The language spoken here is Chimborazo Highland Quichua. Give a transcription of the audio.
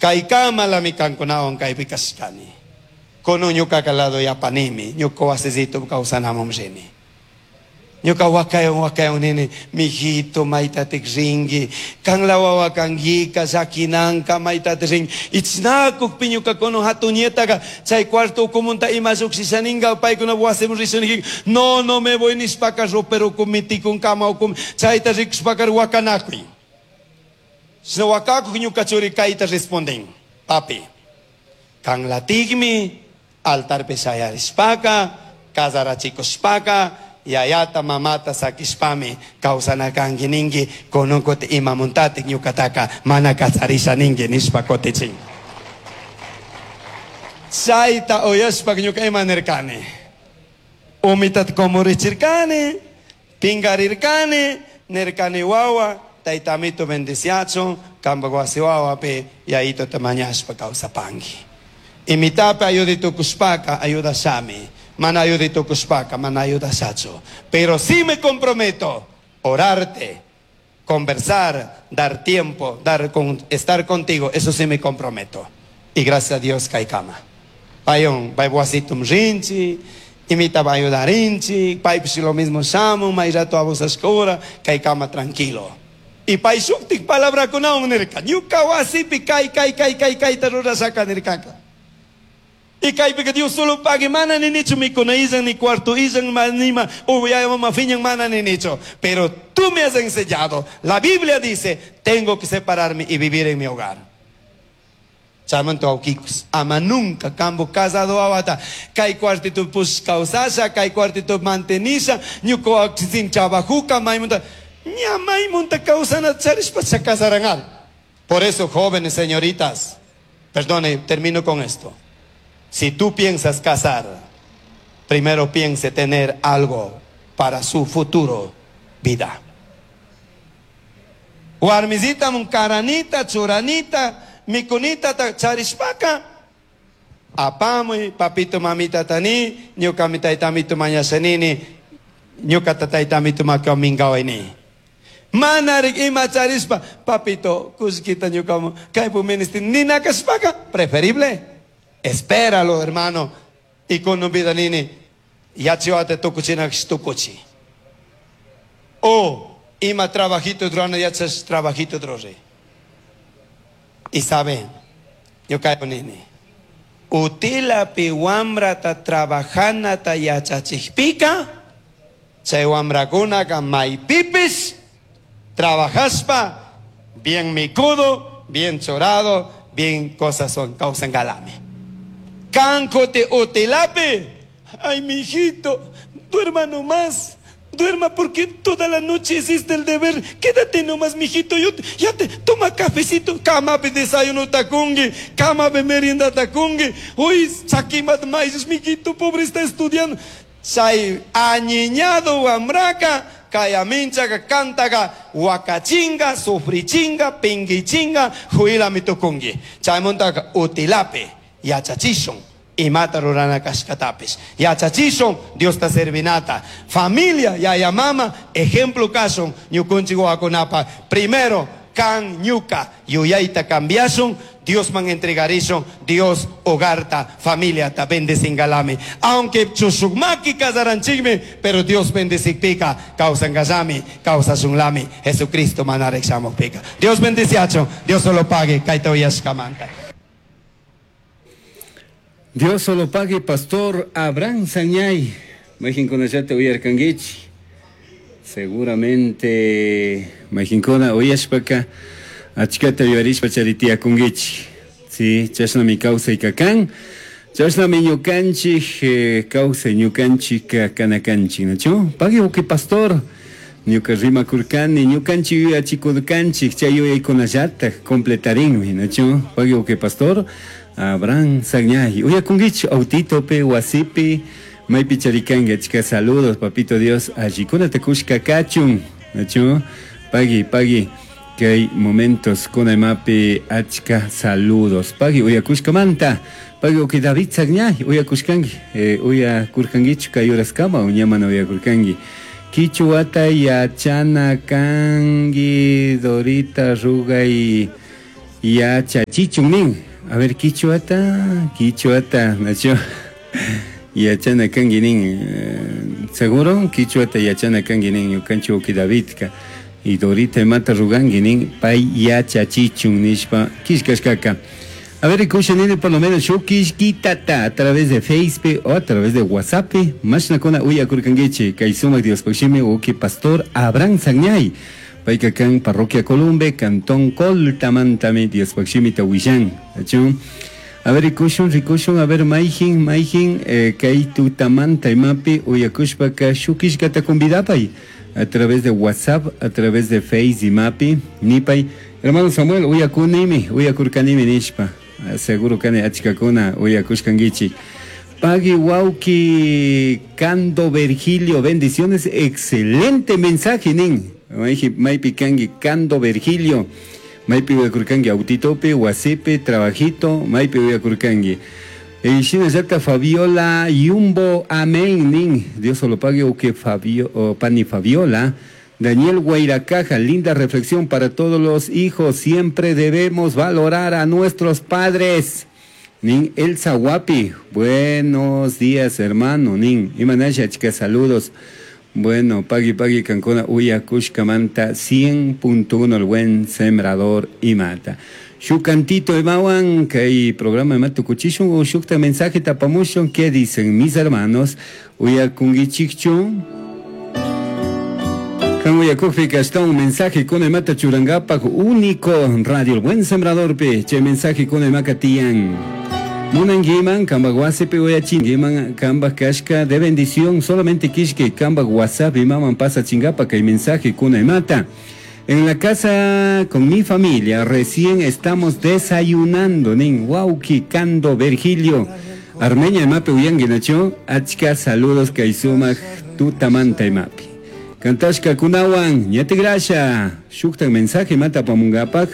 Kaykamalami kankunawan kaypi kashkani. Kunan ñukaka lado yapanimi, ñuka wasisito kawsanamun rini. Ñuka wakayon wakayon nini, mijito, maytatik rinki, kanla wawa kankika, llakinanka, maytatik rinki. Ichnakukpi ñuka kunan hatun nietaka, chay cuarto ukumunta ima llukshishaninka, paykuna wasimun rishuniki, no, no me voy nishpaka ropero ukumi, tikun kama ukumi, chayta rikushpaka wakanakuy. Shina wakakuk ñuka churi kayta responden, papi, kanlatikmi altarpi shayarishpaka, casarachikushpaka, yayata mamata sakishpami kawsana kanki ninki, kunan kuti imamuntatik ñukataka mana kacharisha ninki nishpa kutichin. Chayta uyashpa ñuka ima nirkani, umitata kumurichirkani, pingarirkani, nirkani wawa, tayta amito bendiciachun, kampak wasi wawapi yayitota mañashpa kawsapanki. Imitapi ayudi tukushpaka ayudashami, mana ayudi tukushpaka mana ayudashachu. Pero sí me comprometo orarte, conversar, dar tiempo, estar contigo, eso sí me comprometo. Y gracias a Dios kaykama. Payun, pay wasitum rinchi, imitaba ayudarinchi, paypish lo mismo shamun, may rato abusashkura, kaykama tranquilo. Y pay shuktik palabrakunawan nirka, ñuka wasipi kay, kay, kay, kay, kayta rurashaka nirkaka. Y kaypika Dios solo pague, mana ninichu mikuna illan, ni cuarto illan, nima, yaya mama fiñan, mana ninichu. Pero tú me has enseñado, la Biblia dice, tengo que separarme y vivir en mi hogar. Chamanto aukikus, ama nunca kambo casado awata, kay cuartito pus causasha, kay cuartito mantenisha, ñuko sin trabajuka, maymunta, ña maymunta causana charishpa se casaranal. Por eso, jóvenes señoritas, perdone, termino con esto. Si tú piensas casar, primero piense tener algo para su futuro vida. Warmizita munkaranita, churanita, mikunita ta charishpaka, apamuy, papito mamita tani, ñuka mi taytamito mañashanini, ñuka tataytamito makamingawaini. Manarik ima charishpa, papito, kushkita ñuka kaypu ministri, nina kashpaka, preferible. Espéralo, hermano. Y con un vida nini, yachiwate tukuchina tukuchi. O ima trabajito drona yachas trabajito drore. Y saben, yo caigo nini. Utilapi wamrata trabajanata yachachikpika, chay wamrakunaka maypipis, trabajaspa, bien mikudo, bien chorado, bien cosas son, causan galame. Cancote utilapi, ay mijito, duerma nomás, duerma porque toda la noche hiciste el deber, quédate nomás mijito, yo ya te toma cafecito, cama pe desayuno tacungue, cama pe merienda tacungue, uy, saquimat maíz, mijito, pobre está estudiando. Chay añiñado wamraka, kayaminchaga, cantaga, huacachinga, sufrichinga, pinguichinga, juila mitucungui. Chaymuntaga utilape, yachachishun, imata rurana kashkatapis. Yachachishun, Dios ta servinata. Familia, yaya mama, ejemplo kashun, ñukunchik wawakunapa. Primero, kan ñuka, yuyayta cambiashun, Dios man entregarishun, Dios hogarta, familia ta bendecingalami. Aunque chushukmaki casaranchigme, pero Dios bendecipika, causangalami, causasunlami, Jesucristo manarek shamukpika. Dios bendeciacho, Dios solo pague, kaita uyashkamanta. Dios solo pague, Pastor Abraham Sañay. Majinkuna uyarkanguichi. Seguramente majinkuna uyashpaka achkata yuyarishpa charitiyakunkichik. Sí, chashnami kawsaykakan. Chashnami ñukanchik kawsay ñukanchik kanakanchik, ¿nachu? Pague uki pastor. Ñuka rimakurkani, ñukanchik yuyachikurkanchik, chay yuyaykunallatak completarinmi, ¿nachu? Pague uki pastor. Abraham Sañay. Uyakunkichik autitopi, wasipi, maypi charikanki, achka saludos, papito Dios, allikunata kushka kachun, ¿nachu? Pagui, pagui, que hay momentos con emapi achka saludos. Pagui, uyakushkamanta, pagui, uki David Sañay, uyakushkanki, uyakurkankichu kay horaskama, uñamana uyakurkanki. Kichwata yachana kanki, Dorita Rugay. Yachachichun nin. A ver, quichuata, quichuata, nacho. Yachana kanki nin. Seguro quichuata yachana kanki nin ñukanchik wawki Davidka. Y Dorita imata ruganki nin pay yachachichun nishpa killkashkaka. A ver, rikusha nini por lo menos shuk killkitata a través de Facebook o a través de WhatsApp. Mashnakuna uyakurkankichik kay sumak Diospaj shimi wawki pastor Abraham Sagñay. Payka kan parroquia Columbe, cantón Coltamantami Diospaj shimita willan. Achu. A ver, rikushun, rikushun, a ver, mayjin, mayjin, kay tutamanta imapi uyakushpaka shuk killkata convidapay a través de WhatsApp, a través de Face imapi, nipay. Hermano Samuel, uyakunimi, uyakurkanimi nishpa. Seguro kani achkakuna uyakushkankichik. Pagui wauki Cando Virgilio, bendiciones, excelente mensaje nin. Maypi kanki Cando Virgilio. Maypi uyakurkanki autitopi, wasipi, trabajito, maypi uyakurkanki. Shinallata Fabiola Yumbo, amén nin. Dios lo pague o que Fabio, o Pani Fabiola. Daniel Guairacaja, linda reflexión para todos los hijos. Siempre debemos valorar a nuestros padres. Nin Elsa Guapi, buenos días hermano. Nin Imanasha, chica, saludos. Bueno, pagui pagui kankuna uyakushkamanta 100.1 el buen sembrador y mata. Shukantito imawan kay programa imata tukuchishun o shukta mensaje tapamushun. ¿Qué dicen mis hermanos? Uyakungichikchu. Kan uyakukpika está un mensaje con imata churangapak único radio el buen sembrador pe che mensaje con imaka tian. Munanguiman, kamba WhatsApp uyachinguiman, kamba kashka de bendición, solamente kishke, kamba WhatsApp y maman pasa chingapa que hay mensaje kuna mata. En la casa con mi familia recién estamos desayunando, nin wauki kando Virgilio. Armeña mape uyanguinacho, achka saludos kaisuma tutamanta imapi. Kantashka kunawan, ñate grasha, shuktan mensaje mata pamungapak.